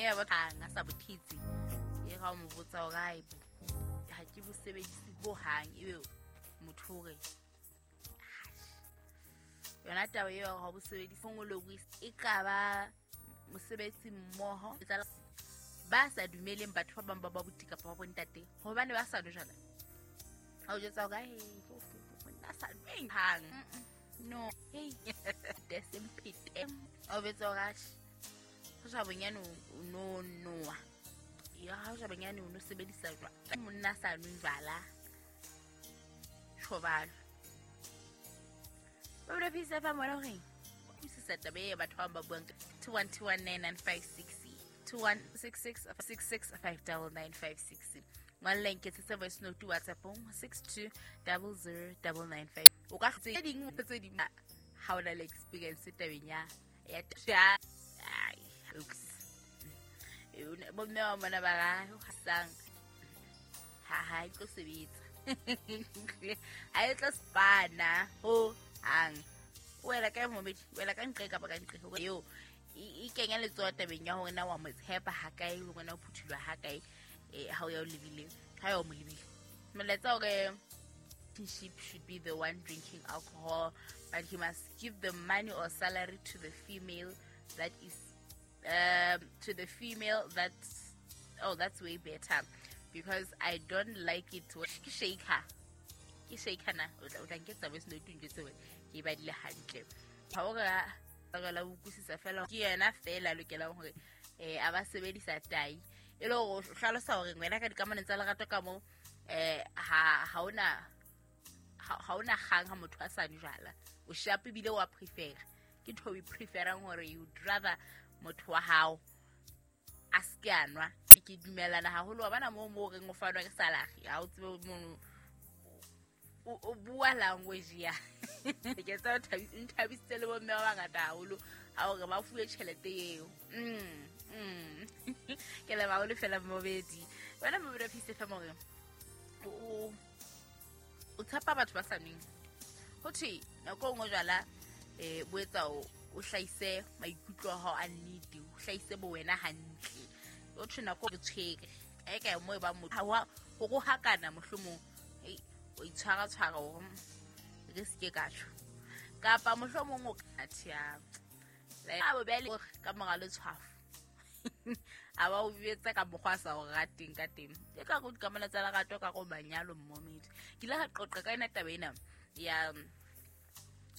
Ya batlang a sa bothitse e ga o mo botsa hore ai ha ke bo sebedise ho hang, ebe motho hore yona taba eo ha bo sebedise ngologi e ka ba mosebetsi mmoho ba sa dumeleng batho ba bang ba ba buti kapa ba bontate hobane ba sa nwe jwala. Ha o jwetsa hore he monna sa nweng hang, no hey desemphete o betsa hore atjhe ho ja bonyane o no noa ya ha ja bonyane o no sebedisa jwala, monna sa nweng jwala tjhobalo. Ba bula pisa fa mona hore utlwisisa taba e batho ba ba buang 21219956 2166665995. Ngwalla nketsetse voice note WhatsAppong 6200995. O ka tse ding tse ding ha o na le experience tabeng ya ya ai bomme ba mona ba ra hasang ha e tlo sebetsa ha e tlo spana ho hang. Wela ka momedi, wela ka nqe kapa ka nqe eo e kenya letsoho tabeng ya hore na wa mo tshepa ha kae, le hore na o phuthulwa ha kae ha o ya o lebile, ha ya o mo lebile. Molaetsa hore relationship should be the one drinking alcohol, but he must give the money or salary to the female that is to the female that's oh that's way better because I don't like it. Ke shaker, ke shaker na o tla nketsa voice note ntjwetse hore ke badile hantle. Ha o ra la utlwisisa fela ke yena fela lokelang hore a ba sebedisa tai e le hore o hlalosa hore wena ka dikamanong tsa lerato ka moo ha ona kgang ha motho a sa nwe jwala. O sharp ebile wa prefer, ke ntho o preferang hore you'd rather motho wa hao a se a nwa. Ke dumelana haholo wa bana moo mo reng o fanwa ke salary ha o tsebe mono o bua language ya ke tsa nthabisitse le bomme ba bangata haholo ha hore ba fuwe tjhelete eo. Ke le ba o lefela mobedi wena mobedi wa Peace FM hore o tshepa batho ba sa nweng. Ho thwe nako e nngwe jwala bo etsa o hlahise maikutlo a hao a nnete, o hlahise bo wena hantle. O thwe nako re tshwere e ka mo e ba motho ha ho rohakana mohlomong o itshwara tshwara hore re se ke ka tjho kapa mohlomong o ka thia a bo bele ka mora letshwafo a ba o betsa ka mokgwa sa o rateng ka teng. E ka go dikamano tsa lerato ka go manyalo mmomedi. Ke ile ka qoqa ka ena taba ena ya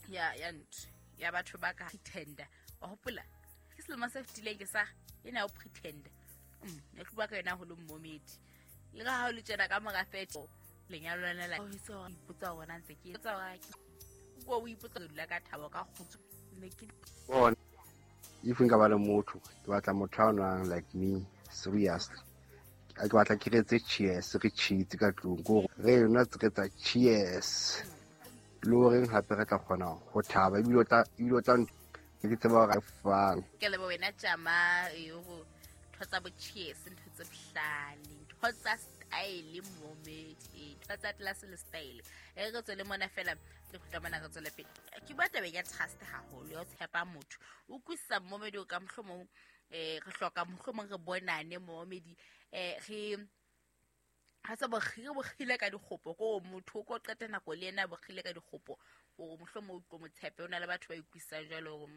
ya ya ntho ya batho ba ka pretender. Wa hopola ke selemo se fetileng ke sa ena o pretender. Ne ke bua ka yona holo mmomedi. Le ka ha o le tjena ka mora 30 lenyalo lena la o itse o ipotsa hore na ntse ke etsa hore ke o ipotsa dula ka thabo ka kgotso ne ke bona. If nka ba le motho ke batla motho a nwang like me seriously. Ke batla ke retse cheers re cheats ka tlung ko re nwa re tsa cheers le horeng hape re tla kgona ho thaba ebile o tla ke tseba hore fang. Ke leboha wena tjama eo ntho tsa bo cheers ntho tse bohlale ntho tsa style momedi ntho tsa class le style e re tswele mona fela le kgutla mona re tswele pele. Ke bua tabeng ya trust haholo ya ho tshepa motho o utlwisisa momedi o ka mohlomong re hloka mohlomong re bonane momedi re ha se bokgile ka dikgopo ko motho o ko qeta nako le yena bokgile ka dikgopo hore mohlomong o tlo mo tshepe. O na le batho ba utlwisisang jwalo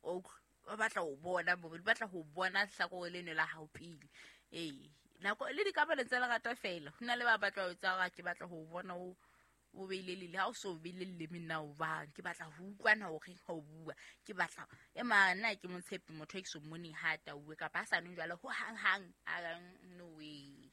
hore o batla ho bona momedi, batla ho bona hlakore leno la hao pele. Nako le dikamano tsa lerato fela ho na le ba batla ho etsa hore ke batla ho bona o beile lele ha o so beile leleme nna o bang ke batla ho utlwana hore ha o bua ke batla e mana ke mo tshepe motho e ke so mmoneng ha tauwe kapa a sa nwe jwala ho hang hang a no way.